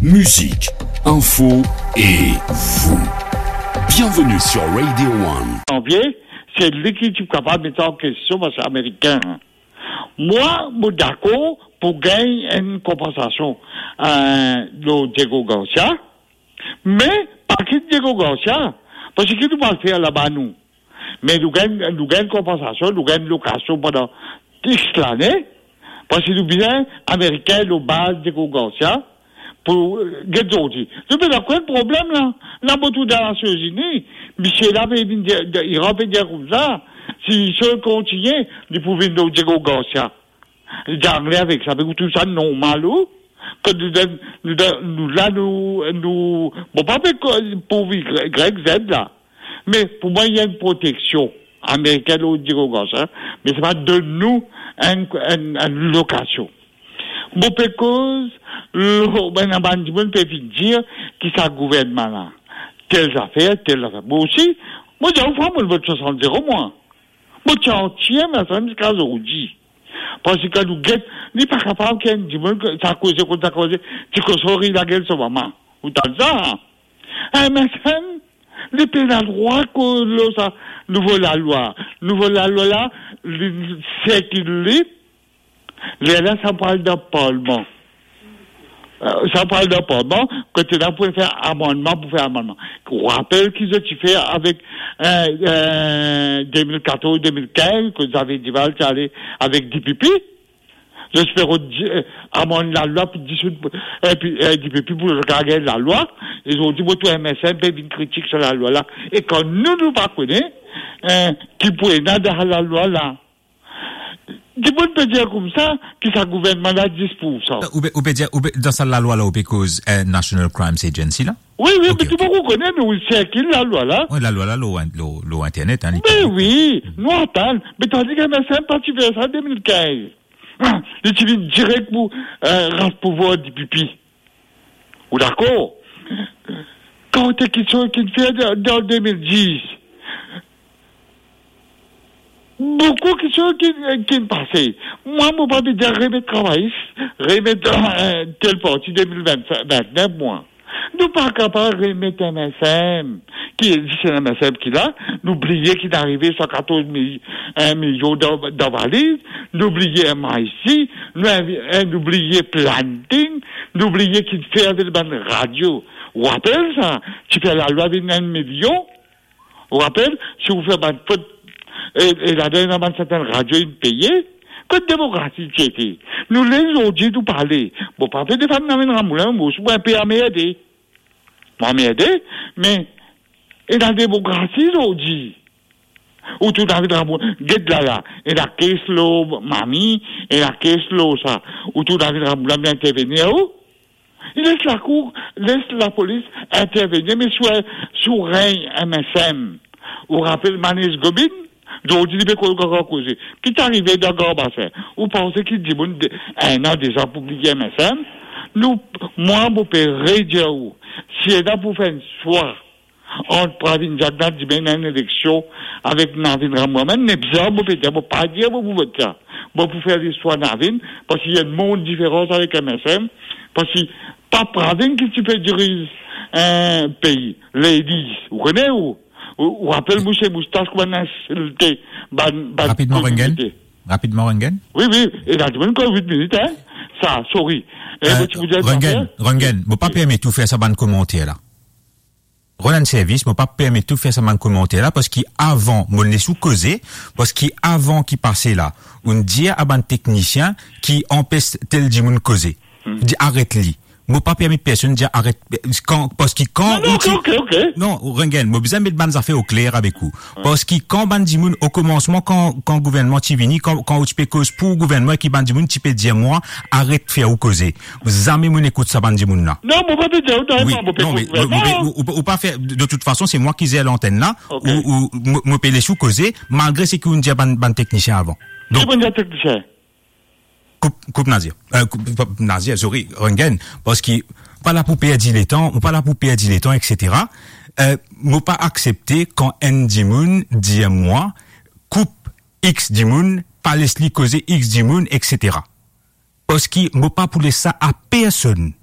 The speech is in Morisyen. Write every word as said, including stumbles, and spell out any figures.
Musique, info et vous. Bienvenue sur Radio One. Janvier, se li ki ti kapav met sa an kestion, paski Amerikin. Mwa, mo dakor pou gagn enn konpansasion, eh, lor Diego Garcia, me pa kit Diego Garcia, paski nou pa fer laba nou. Me nou gagn, nou gagn konpansasion, nou gagn lokasion pandan X lane, paski nou bizin Amerikin lor baz Diego Garcia pou, eh, get zordi. Nou pena kone problem la. La mo trouv dan Nasion Zini, misie la pe vinn dir, Iran pe dir koumsa, si sa kontinie, li pou vinn lor Diego Garcia. Li dir angle avek sa, me ou trouv sa normal ou? Kan nou donn, nou donn, nou la, nou, nou, bon, pa pe ko-, pou Y Z la. Me pou mwa, ena enn proteksion Amerikin lor Diego Garcia, me se pa donn nou enn, enn, enn lokasion. Mo pe koz lor bann, bann dimoun pe vinn dir ki sa gouvernman la, tel zafer, tel zafer. Mo osi, mo dir ou, fwa, mo vot swasant zero, mwa. Mo ti antie, me sa ziska zordi. Paski kan nou get, li pa kapav ki enn dimoun, sa koze kot sa koze, ti koson ri lagel so mama. Ou tann sa? Eh, me sa, li pena drwa koz lor sa nouvo lalwa. Nouvo lalwa la, li sirkil li, lerla sa pou al dan parlman. Eh, sa pou al dan parlman, kot la pou fer amannman, pou fer amannman. Ou rapel ki zot ti fer avek, eh, eh, de mil katorz, de mil kinz, kot Xavier Duval ti ale avek D P P? Zot ti pe rod, eh, amann lalwa pou disoud, epi, eh, D P P pou zot gagn lalwa. E zot ti, bon, tou M S M pe vinn kritik sa lalwa la. E kan nou, nou pa kone, eh, ki pou ena dan lalwa la. Dimoun pe dir koumsa ki sa gouvernman la dis pou sa. Ou pe, ou pe dir, ou pe, dan sa lalwa la, ou pe koz, eh, National Crimes Agency la? Wi, wi, ok, me tou, ok, dimoun kone, nou, wi, sirkil lalwa la. Wi, lalwa la, lor, lor, lor internet, hein, li... Me wi, nou atann. Me tandi ki M S M pa ti fer sa de mil kinz. Ah, li ti vinn direk pou, eh, ras pouvwar D P P. Ou dakor? Kan te kiksoz ki fer dan, dan de mil dis, boukou kiksoz ki, ki pase. Mwa, mo pa pe dir remet travayis, remet, eh, tel parti de mil vin, vin nef, mwa. Nou pa kapav remet M S M, ki existe, M S M ki la, nou bliye ki inn arive san katorz mil, enn milion dan, dan valiz, nou bliye M I C, nou invi-, eh, nou bliye planting, nou bliye ki fer avek bann radio. Ou rapel sa, ti fer lalwa vinn enn milion, ou rapel, si ou fer bann fot, e, e ladan ena bann sertin radio inn peye, kot demokrasi ti ete? Nou les zordi nou pale. Bon, pa pe defann Navin Ramoulin, mo osi mo inpe anmerde. Mo anmerde, me ena demokrasi zordi. Ou trouv Navin Ramoulin, get la la, ena kes lor mami, ena kes lor sa. Ou trouv Navin Ramoulin vinn intervenir, ou? Li les lakour, les lapolis intervenir, me sou, sou regn M S M. Ou rapel Manish Gobin? Zordi li pe koz, koz, koze. Ki ti arive dan Gran Basin? Ou panse ki dimoun de, enn an, dezan pou bliye M S M? Nou, mwa, mo pe redir ou, si ena pou fer enn swa ant Pravind Jugnauth dimann enn eleksion avek Navin Ramoulin, mwa mem, mo pe dir, mo pa dir mo pou vot sa. Mo pou fer listwar Navin, paski ena enn mond diferans avek M S M, paski pa Pravind ki ti pe diriz, eh, pei. Ladies, ou kone ou? Ou, ou rapel Mousse Moustache kouma inn insilte bann, bann... Rapidman, Rengen. Rapidman, Rengen. Wi, wi, e la dimoun kot wit minit, hein? Sa, sorry. Eh, eh, mo ti pou dir Rengen, zafer. Rengen, mo pa permet ou fer sa bann komanter la. Rod enn servis, mo pa permet ou fer sa bann komanter la, paski avan, mo les ou koze, paski avan ki pase la, ou'nn dir a bann teknisien ki anpes tel dimoun koze. Hmm. Dir aret li. Mo pa permet personn dir aret, kan, paski kan... Non, non, ou ti... ok, ok, ok. Non, Rengen, mo bizin met bann zafer o kler avek ou. Wi. Paski kan bann dimoun, o komansman, kan, kan gouvernman ti vini, kan, kan ou ti pe koz pou gouvernman, ki bann dimoun ti pe dir mwa, aret fer ou koze. Zame mo'nn ekout sa bann dimoun la. Non, mo pa pe dir ou, wi, non, me mo, mo pe, ou, ou, ou pa fer, de tout fason, se mwa ki zer lantenn la, ok, ou, ou, mo, mo pe les ou koze, malgre seki ou'nn dir bann, bann teknisien avan. Donk, ki bann teknisien? Koup, koup Nadir. Eh, koup, pa, Nadir, sorry, Rengen, paski pa la pou perdi letan, mo pa la pou perdi letan, et cetera. Eh, mo pa aksepte kan enn dimoun dir mwa, koup X dimoun, pa les li koze X dimoun, et cetera. Paski mo pa pou les sa a personn.